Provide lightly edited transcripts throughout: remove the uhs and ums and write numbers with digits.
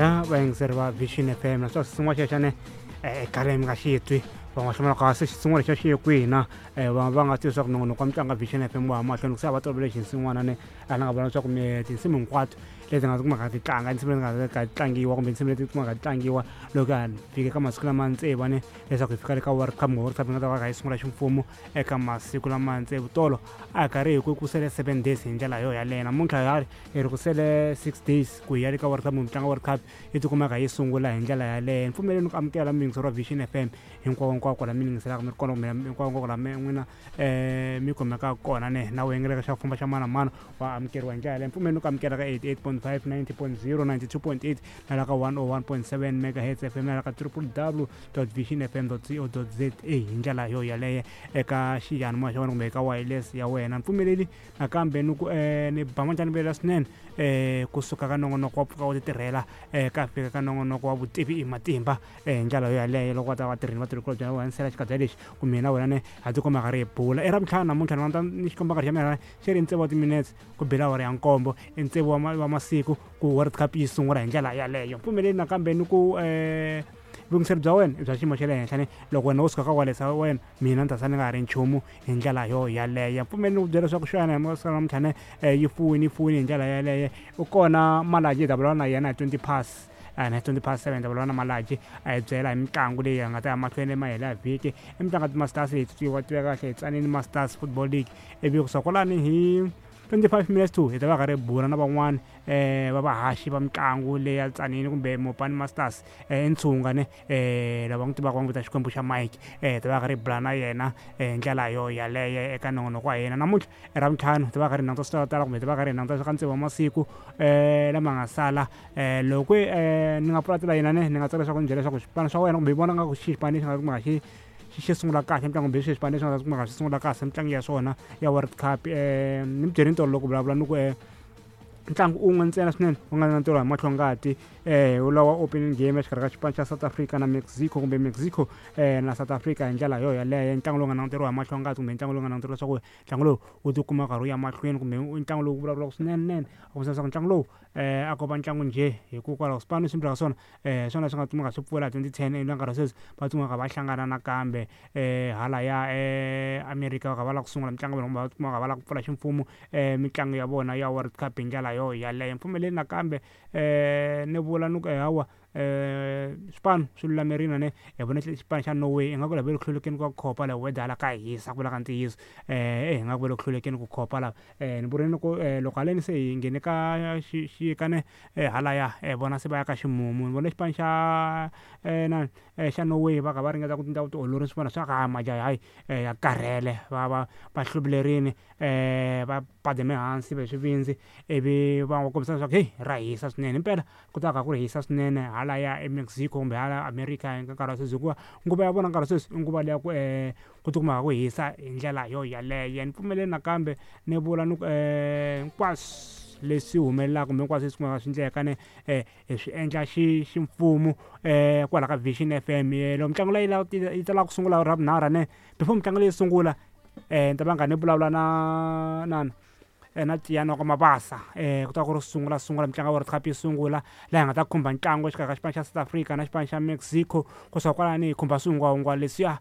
Ya vayingiseri va Vision FM, naswona xin'wana xa xane khale mi nga xi twi, va nga hlamula kasi xin'wana xa xi ye kwihi na va nga tivi leswaku nongonoko wa mitlangu ya Vision FM wa ha mahlweni se a va tolovele xinsin'wana ne a ni nga vona leswaku tinsimu hinkwato leti nga kumaka ti tlanga, tinsimu leti nga ka tlangiwa kumbe tinsimu leti kumaka ti tlangiwa loko ha fike ka masiku lama tsevu ne leswaku hi fika le ka World Cup, World Cup yi nga ta va kha yi sungula ximfumo eka masiku lama tsevu. Tolo a hi karhi hi ku sele 7 days hi ndlela yo yaleyo, namuntlha hi ri ku sele 6 days ku hi ya le ka World Cup, mitlangu World Cup yi tikumaka yi sungula hi ndlela yaleyo. Ni pfumeleni ku amukela muyingiseri wa Vision FM hinkwako hinkwako laha mi yingiselaka mi ri kona, kumbe hinkwako hinkwako laha n'wina mi kumekaka kona ne na u xa famba xa mani na mani wa amukeriwa hi ndlela yaleyo. Ni pfumeleni ku amukela ka 88.5, 90.0, 92.8 na la ka 101.7 megahertz FM na la ka www.visionfm.co.za hi ndlela yo yaleyo eka xiyanimoya xa wena kumbe eka wireless ya wena. Ni pfumeleli nakambe ni ku ni ba manjani vuyela swinene kusuka ka nongonoko wa pfuka wu ti tirhela ka fika ka nongonoko wa vutivi i matimba hi ndlela yo yaleyo. Loko va ta vatirhini vatirhikulobye va hanisela xikadya lexi ku mina wena ne ha tikuma ka ri hi bula i Ravutlhanu namuntlha ni vona ni xikomba nkarhi xa mina xi ri tsevu wa timinetse ku bela awara ya nkombo, i tsevu wa masiku ku World Cup yi sungula hi ndlela yaleyo. Pfumeleli nakambe ni ku vuyingiseri bya wena i bya xiyimo xa le henhla ne loko wena wo suka ka wireless ya wena mina ni ta sala ni nga ha ri nchumu hi ndlela yo yaleyo. Pfumeleli ni ku byela leswaku xana hi masiku namuntlha ne yi fuwini yi fuwini hi ndlela yaleyo. U kona Malaji hi ta vulavula na yena hi 20 past na 20 past 7 ta vulavula na Malaji a hi byela hi mitlangu leyi nga ta ya mahlweni mahelo ya vhiki, i mitlangu ya ti-Masters leyi tiva tiveka kahle hi Tzaneen Masters Football League. Ivi kusuka kwalani hi 25 minutes to hi ta va karhi hi bula na van'wani va vahaxi va mitlangu leyi ya Tzaneen kumbe Mopani Masters Ntshunga ne lava n'wi tivaka va n'wi vita Xikwembu xa Mike, hi ta va karhi hi bula na yena hi ndlela yo yaleyo eka nongonoko wa hina namuntlha i Ravutlhanu. Hi ta va karhi hi languta swi tala kumbe hi ta va karhi hi languta ka tsevu wa masiku lama nga sala. Loko ni nga pfula tilayini ne ni nga tsaka leswaku ni byela leswaku xipano xa wena kumbe i vona nga ku xi xipano lexi nga kumaka xi xi sungula kahle mitlangu kumbe xi xipano lexi nga ta kumaka xi sungula kahle mitlangu ya swona ya World Cup. Ni mi byelini tolo loko vulavula ni ku ntlangu un'we ntsena swinene wu nga na ntirho hi mahlongati lawa opening game exikarhi ka xipano xa South Africa na Mexico kumbe Mexico na South Africa hi ndlela yo yaleyo, ntlangu lowu nga languteriwa hi mahlongati kumbe ntlangu lowu nga languteriwa leswaku ntlangu lowu wu tikuma karhi wu ya mahlweni kumbe ntlangu lowu vulavulaka swinene nene a kombisa leswaku ntlangu lowu a ko va ntlangu njhe, hikokwalaho swipano swimbirhi ka swona swona swi nga kumeka swi pfula 2010 na nkarhi wa sweswi va kumeka va hlangana nakambe hala ya America va kha va lava ku sungula mitlangu ya vona kumbe va kumeka va lava ku pfula ximfumo mitlangu ya vona ya World Cup hi ndlela yo yaleyo. Mpfumeleli nakambe ni vula ni ku hawa swipano swi lulamerile ne hi vona xipano xa Norway ingaku lava le ku hlulekeni ka ku khopa la weather hala ka hisa ku vula ka ntiyiso ingaku va le ku hlulekeni ku khopa la. Ni vurile ku loko haleni se hi nghene ka xixika ne halaya vona se va ya ka ximumu, ni vone xipano xa na xa Norway va kha va ringeta ku endla vutiolori swin'wana swa ka majaha hayi ya karhele va va va hluvulerini va bademe hansi va hi swivindzi ivi va kombisa leswaku heyi ra hisa swinene himpela ku ta ka ku ri hisa swinene hala ya eMexico kumbe hala America hi nkarhi wa sweswi, hikuva nguva ya vona nkarhi wa sweswi i nguva leya ku ku tikuma ku hisa hi ndlela yo yaleyo. Ni pfumeleli nakambe ni vula ni ku hinkwaswo leswi humelelaka kumbe hinkwaswo leswi kumaka swi endleka ne hi swi endla xi ximfumo kwala ka Vision FM. Loko mitlangu leyi yi ta lava ku sungula Ravunharhu ne before mitlangu leyi sungula ni ta va nga ni vulavula na na na Tiyani wa ka Mabasa ku ta ku ri sungula sungula mitlangu ya World Cup yi sungula laha hi nga ta khumba ntlangu exikarhi ka xipano xa South Africa na xipano xa Mexico. Kusuka kwalani hi khumba swihungwahungwa leswiya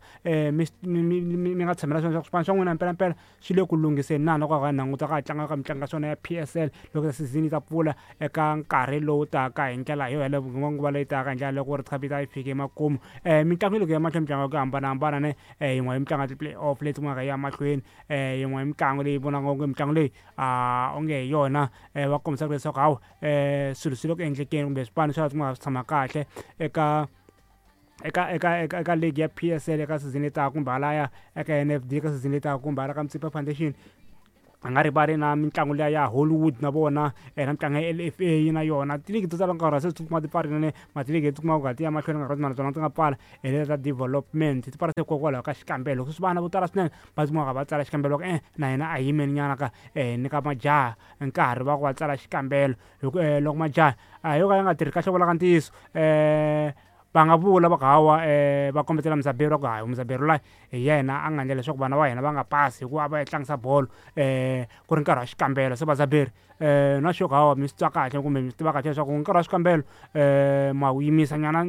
mi mi nga tshamela swona swa ku swipano swa n'wina mpelampela swi le ku lunghiseni na loko hi languta ka ha tlanga ka mitlangu ya swona ya PSL loko season yi ta pfula eka nkarhi lowu taka hi ndlela yo yaleyo nguva leyi taka hi ndlela loko World Cup yi ta yi fike emakumu. Mitlangu yi le ku ya mahlweni, mitlangu ya ku hambanahambana ne yin'we ya mitlangu ya ti-play off leyi kumaka yi ya mahlweni, yin'we ya mitlangu leyi vonaka onge mitlangu leyi onge hi yona va kombisaka leswaku hawa swilo swi le ku endlekeni kumbe swipano swa swi tshama kahle eka eka eka eka eka league ya PSL eka season leyi taka kumbe halaya eka NFD eka season leyi taka kumbe hala ka Motsepe Foundation. A nga rivali na mitlangu liya ya Hollywood na vona na mitlangu ya LFA na yona tiligi to tala nkarhi wa sweswi ti kuma ti pfarile ne matiligi leti kumaka ku ti ya mahlweni nkarhi na tona ti nga pfala hi leti ta development ti pfala se hikokwalaho ka xikambelo sweswi vana vo tala swinene va kumaka va tsala xikambelo va ku na hina a hi yimeni nyana ka nyika majaha nkarhi va ku va tsala xikambelo hi ku loko majaha a yo ka ya nga tirhi kahle vulaka ntiyiso va nga vula va ku hawa va kombetela Muzaberi va ku hayi Muzaberi luya hi yena a nga endla leswaku vana va hina va nga pasi hikuva a va ya tlangisa bolo ku ri nkarhi wa xikambelo se Vazaberi Na sure hawa mi swi twa kahle kumbe mi swi tiva kahle leswaku nkarhi wa swikambelo ma wu yimisa nyana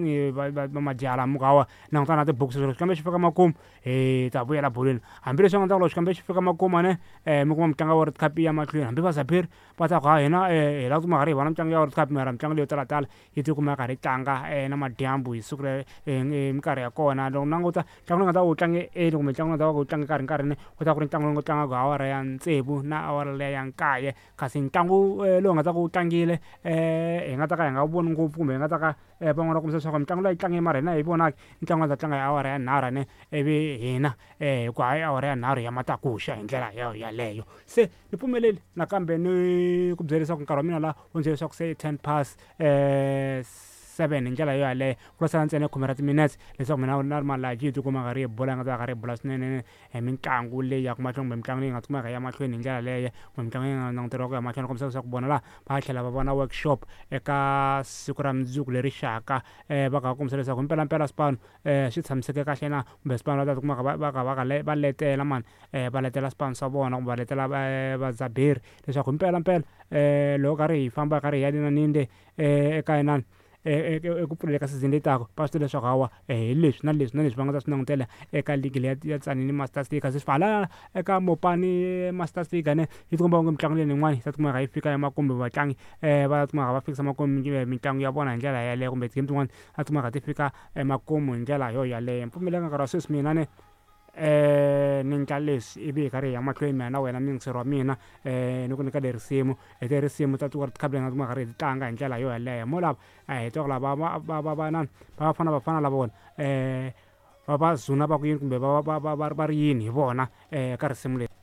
majaha mi ku hawa langutana na tibuku, loko xikambelo xi fika makumu hi ta vuyela bolweni. Hambileswi nga ta ku loko xikambelo xi fika makumu ne mi kuma mitlangu ya World Cup ya mahlweni, hambi va Zabiri va ta ku ha hina hi lava ku tikuma karhi hi vona mitlangu ya World Cup, mara mitlangu leyo talatala yi tikuma yi karhi yi tlanga na madyambu hi siku hi minkarhi ya kona. Loko languta ntlangu lowu nga ta wu tlange early kumbe ntlangu lowu nga ta va wu tlange nkarhi nkarhi ku ta ku ri ntlangu lowu nga tlangaka hi awara ya tsevu na awara liya ya nkaye, kasi ntlangu lowu nga ta ku wu tlangile hi nga ta ka hi nga wu voni ngopfu kumbe hi nga ta ka van'wana va kombisa leswaku mitlangu leyi tlange mara hina hi vonaki ntlangu nga ta tlanga hi awara ya nharhu ne, ivi hina hi ku hayi awara ya nharhu ya matakuxa hi ndlela yo yaleyo. Se ni pfumeleli nakambe ni ku byela leswaku nkarhi wa mina la wu ndzi leswaku se 10 past 7 hi ndlela yo yaleyo, ku sala ntsena khume ra timinetse leswaku mina na Malaji hi tikuma karhi hi bula, nga ta karhi hi bula swinene hi mitlangu leyi ya ku mahlweni kumbe mitlangu leyi nga tikumaka ya mahlweni hi ndlela leyo, kumbe mitlangu leyi nga languteriwa ku ya mahlweni. Kombisa leswaku vona laha va tlhela va vona workshop eka siku ra mundzuku leri xaka, va kha va kombisa leswaku mpelampela swipano swi tshamiseke kahle na, kumbe swipano va ta tikumaka va va va va letela mani, va letela swipano swa vona kumbe va letela vadzaberi leswaku mpelampela loko karhi hi famba karhi hi ya le na le eka inani eku pfuleni ka season leyi taka, va swi tiva leswaku hawa hi leswi na leswi na leswi va nga ta swi langutela eka ligi leyi ya Tzaneen Masters League. Kasi hala eka Mopani Masters League ne yi tikomba onge mitlangu leyi yin'wana yi ta tikumeka yi fika emakumu, vatlangi va tikumaka va fikisa makumu mitlangu ya vona hi ndlela yaleyo, kumbe ti-game tin'wani a tikumaka ti fika emakumu hi ndlela yo yaleyo. Mpfumelelo nkarhi wa sweswi mina ne ni endla leswi ivi hi karhi hi ya mahlweni mina na wena muyingiseri wa mina, ni ku nyika le risimu hi te risimu ta World Cup leyi nga tikuma karhi hi ti tlanga hi ndlela yo yaleyo. Mo lava hi twa ku lava va va va va nani va Bafana Bafana lava vona va va zuna va ku yini kumbe va va va va va ri yini hi vona ka risimu leri.